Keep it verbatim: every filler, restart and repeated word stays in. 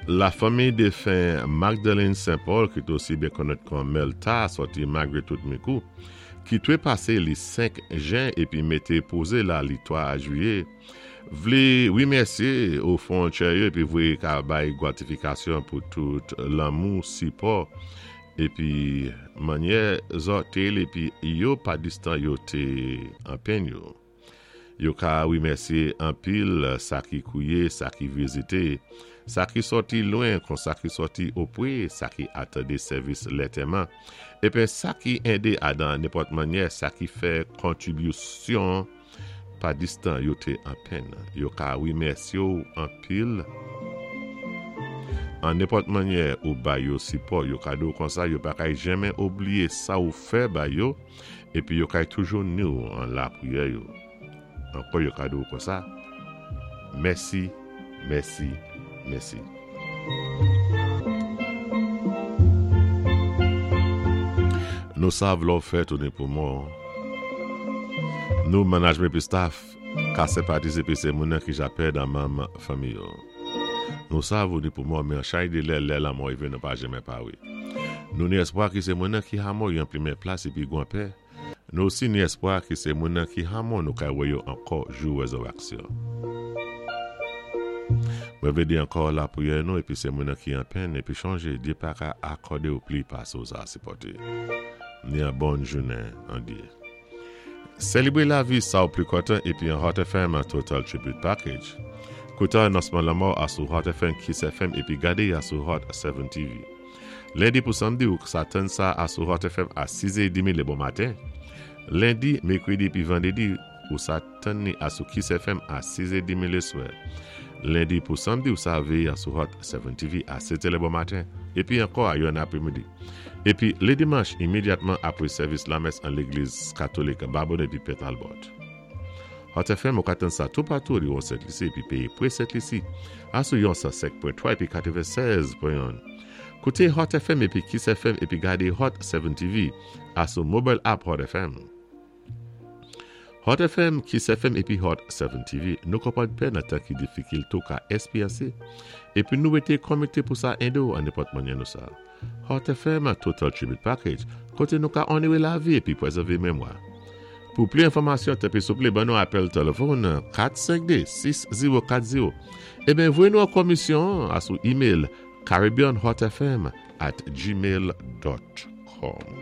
La fanmi défen Magdalene Saint-Paul, ki té osi byen konnèt kon Melta, sòti Magritte Micoud, ki twé pasé li senk jen épi mété pozé la li twa jwiyé, vlé wimèsyé o fon tchè yo épi voyé ka bay gwatifikasyon pou tout lanmou, sipò épi mannyè zòt té épi yo pa distan yo té an penn yo. Yo ka wimèsyé anpil sa ki kouwiyé, sa ki vizité, sa ki sòti lwen kon sa ki sòti opwé, sa ki atandé sèvis lantèman, épi sa ki édé adan nenpòt mannyè, sa ki fè kontribisyon pa distan yo té an penn. Yo ka wimèsyé ou anpil an nenpòt mannyè ou ba yo sipò, yo ka di ou konsa yo pa kay janmen oubliyé sa ou fè ba yo, épi yo kay toujou ni ou an lapriyè yo. Ankò yo ka di ou konsa, mèsi, mèsi, mèsi. Nou sav lò fè tounen pou mò. Nou management épi staff ka senpatizé épi sé moun ki ja pèd an manm fanmi yo. Nou sav ou ni pou mò, men an chay de lè lè lanmò rivé nou pa janmen pawé. Nou ni espwa ki sé moun ki hamò yon plimen plas épi gwan pè. Nou osi ni espwa ki sé moun ki hamò nou kay wè yo ankò jou wézèwaksyon. Mwen vlé di ankò lapriyè nou épi sé moun ki an penn épi chonjé Dye pa ka akòdé ou pli pasé ou sa sipòté. Ni an bon jounen an Dye. Sélébré lavi sa ou pli kontan épi an Hot F M Total Tribute Package. Kouté anonsman lanmò asou Hot F M, Kiss F M épi gadé asou Hot sèt T V. Lendi pou samdi ou sa tann sa asou Hot F M a sis è trant lé bon maten. Lendi, mèkrèdi épi vandrédi ou sa tann ni asou Kiss F M a sis è trant lé swè. Lendi pou samdi ou sa véyé asou Hot sèt T V a sèt lé bon maten épi ankò a yon apwémidi. Épi lé dimanch imédyatman apwé sèvis lamès an légliz katolik Babonneau épi Pè Talbot. Hot F M ou ka tann sa toupatou li Sent Lisi épi péyi pwé Sent Lisi asou yon san senk pwen twa épi katwennsèz pwen en. Kouté Hot F M épi Kiss F M épi gadé Hot sèt T V asou mobile app Hot F M. Hot F M, Kiss F M épi Hot sèt T V, nou konpwann pèn nan tan ki difikil tou ka ésperyansé. Épi nou été komité pou sa édé ou an nenpòt mannyè nou sa. Hot F M Total Tribute Package, koté nou ka onowé lavi épi pwézèvé mémwa. Pou pli enfòmasyon, tanpwi souplé, ban nou apèl téléfòn kat senk de, sis zewo kat zewo. Eben, voyé nou an komisyon asou email caribbeanhotfm at gmail dot com.